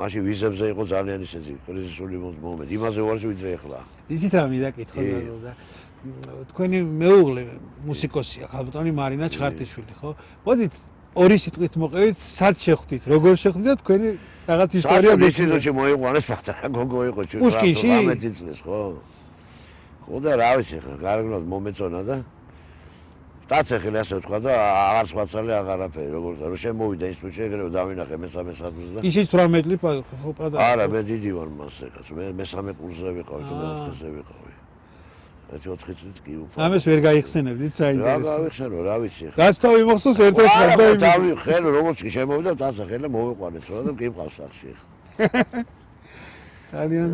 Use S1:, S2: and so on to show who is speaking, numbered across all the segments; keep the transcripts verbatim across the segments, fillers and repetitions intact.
S1: მაშინ ვიზებზე იყო ძალიან ისეთი კრიზისული მომენტი. იმაზე ვარ ვიდრე ახლა.
S2: იცით რა მიდაკითხო და თქვენი მეუღლე მუსიკოსია, ხალბატონი მარინა ჩხარტიშვილი, ხო? მოდით ორი სიტყვით მოყევით, სად შეხვდით, როგორ შეხვდით და თქვენი რაღაც ისტორია
S1: გეცნობათ. ისინი მოიყვანეს პატარა გოგო იყო
S2: ჩუჩქი.
S1: რამე წლის, ხო? ხო და რა ვიცი ხა, გარეგნულად მომეწონა და დაცეხილი ასე ვთქვა და აღარ სხვაცალე აღარაფერი, როგორც რომ შემოვიდა ინსტიტუტში, ეგრევე დავინახე მესამე სათვს და
S2: ისიც თვრამეტ წელი ხო პატარა.
S1: არა, მე დიდი ვარ მასე, კაც მე მესამე კურსზე ვიყავი და მეოთხეზე ვიყავი. ერთი ოთხი წლით კი უფრო.
S2: ამას ვერ გაიხსენებდით საინტერესო.
S1: რა გავიხსენო, რა ვიცი ხა.
S2: რაც თავი მოხსოვს ერთ-ერთ
S1: და დავიხელ, როგორც კი შემოვიდა დაცეხილი და მოვიყვანეთ, რა და მყავს სახში ხა.
S2: ძალიან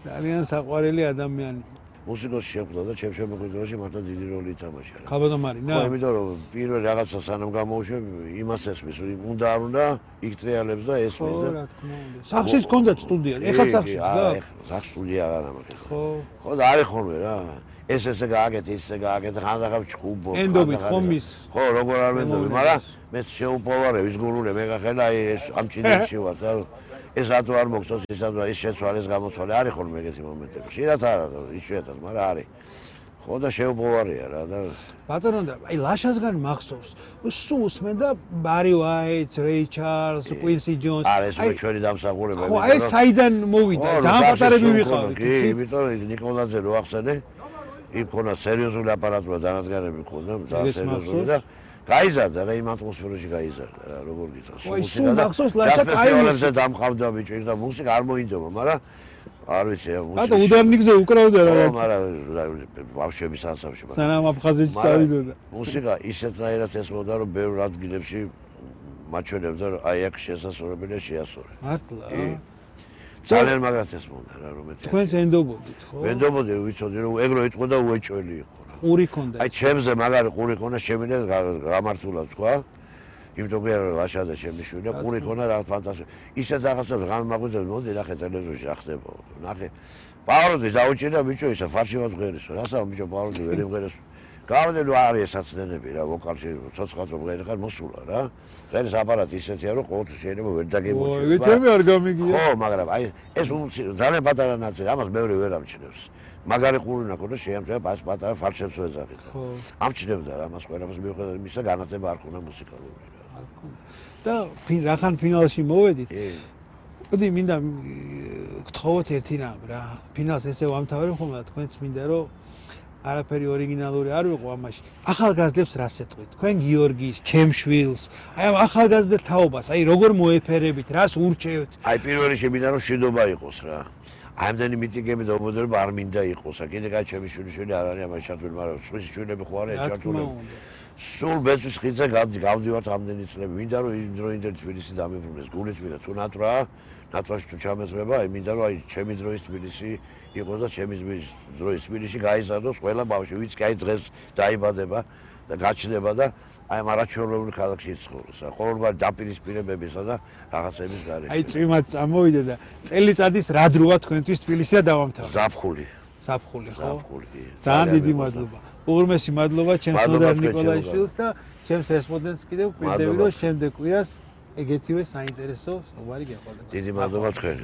S2: ძალიან საყვარელი ადამიანი.
S1: მუსიკოსი შეხვდა და ჩემ შემოქმედებაში მართლა დიდი როლი ითამაშა.
S2: ხალბატონ მარინა?
S1: ხო, იმიტომ რომ პირველ რაღაცა სანამ გამოუშვებ, იმას ესმის, უნდა არ უნდა იქტრიალებს და ესმის და.
S2: ხო, რა თქმა უნდა. სახშიც ჰქონდათ სტუდია, ეხლა სახშიც და?
S1: ეხლა სახ სტუდია აღარ ამაკეთე.
S2: ხო.
S1: ხო და არის ხოლმე რა. ეს ესე გააკეთე, ისე გააკეთე, ხანდახან ჩხუბო.
S2: ენდობით ხომის.
S1: ხო, როგორ არ მენდობი, მაგრამ მე შეუპოვარე ვისგულულე მეგახელა ეს ამ ჩინეთში ვარ და ეს რატო არ მოგწონს ის რატო ის შეცვალეს გამოცვალე არის ხოლმე ეგეთი მომენტები. შეიძლება არა, იშვიათად, მაგრამ არის. ხო და შეუპოვარია რა და
S2: ბატონო და აი ლაშასგან მახსოვს. სულ უსმენ და ბარი ვაიტ, რეი ჩარლზ, κουინსი ჯონს.
S1: არა ეს მე ჩვენი დამსახურებები.
S2: ხო, აი საიდან მოვიდა? ძალიან პატარები ვიყავით.
S1: კი, იმიტომ რომ ნიკოლაძე რო ახსენე, იქ ქონა სერიოზული აპარატურა დანადგარები ქონდა, ძალიან სერიოზული და გაიზარდა რა იმ ატმოსფეროში გაიზარდა რა როგორ გითხრა
S2: სულ მახსოვს ლაშა
S1: კაიულებზე დამხავდა ბიჭი და მუსიკა არ მოინდომა მაგრამ არ ვიცი მუსიკა
S2: ბატონო უდარნიგზე უკრავდა რაღაც
S1: მაგრამ ბავშვების ანსამბლში
S2: სანამ აფხაზეთში წავიდოდა
S1: მუსიკა ისეთნაირად ესმოდა რომ ბევრ ადგილებში მაჩვენებდა რომ აი აქ შესასრულებელია შეასრულე
S2: მართლა
S1: ძალიან მაგრად ესმოდა რა რომ ეთქვა
S2: თქვენს ენდობოდით ხო
S1: ენდობოდი ვიცოდი რომ ეგრო იტყვა და უეჭველი იყო
S2: ყური ქონდა.
S1: აი ჩემზე მაგარი ყური ქონა შემიძლია გამართულად თქვა. იმიტომ რომ ლაშა და ჩემი შვილია ყური ქონა რაღაც ფანტასტიკა. ისეთ რაღაცებს გამაგვიძებს მოდი ნახე ტელევიზორში ახდება. ნახე. პავროდი დაუჭირდა ბიჭო ისა ფარში ვაღერისო. რასაო ბიჭო პავროდი ვერ იმღერეს. გავდე რომ არის საცდენები რა ვოკალში ცოცხალ რომ ღერი ხარ მოსულა რა. ღერის აპარატი ისეთია რომ ყოველთვის შეიძლება ვერ დაგემოჩნდეს.
S2: ო, ეგეთები არ გამიგია.
S1: ხო, მაგრამ აი ეს ძალიან პატარა ნაწილი ამას მეორე ვერ ამჩნევს. მაგარი ყურინა ქონდა შეამჩნევა პას პატარა ფარშებს ვეძახით. ხო. ამჩნევდა რა მას ყველაფერს მიუხედავად იმისა განათლება არ ქონდა მუსიკალური რა.
S2: არ ქონდა. და რახან ფინალში მოვედით. მოდი მინდა გთხოვოთ ერთი რამ რა. ფინალს ესე ვამთავრებ ხოლმე და თქვენც მინდა რომ არაფერი ორიგინალური არ ვიყო ამაში. ახალგაზრდებს რას ეტყვით? თქვენ გიორგის, ჩემშვილს, აი ამ ახალგაზრდა თაობას, აი როგორ მოეფერებით, რას ურჩევთ?
S1: აი პირველ რიგში მინდა რომ შედობა იყოს რა. ამდენი მიტინგები და უბედურება არ მინდა იყოს. კიდე კაც ჩემი შვილი არ არის ამაში ჩართული, მაგრამ სხვისი შვილები ხო არიან ჩართული. სულ ბეწვის ხიძე გავდივართ ამდენი წლები. მინდა რომ იმ დროინდელი თბილისი დამებრუნდეს. გულით მინდა თუ ნატრა, ნატრაში თუ ჩამეწრება, აი მინდა რომ აი ჩემი დროის თბილისი იყოს და ჩემი დროის თბილისში გაიზარდოს ყველა ბავშვი, ვინც კი აი დღეს დაიბადება და გაჩნდება და აი ამ არაჩვეულებრივ ქალაქში ცხოვრობს. ყოველგვარი დაპირისპირებებისა და რაღაცების გარეშე.
S2: აი წვიმად წამოვიდა და წელიწადის რა დროა თქვენთვის თბილისი და დავამთავრე.
S1: ზაფხული.
S2: ზაფხული ხო?
S1: ზაფხული კი.
S2: ძალიან დიდი მადლობა. უღრმესი მადლობა ჩემს ნოდარ ნიკოლაიშვილს და ჩემს რესპონდენტს კიდევ ვკვირდები რომ შემდეგ კვირას ეგეთივე საინტერესო სტუმარი გეყოლება.
S1: დიდი მადლობა თქვენ.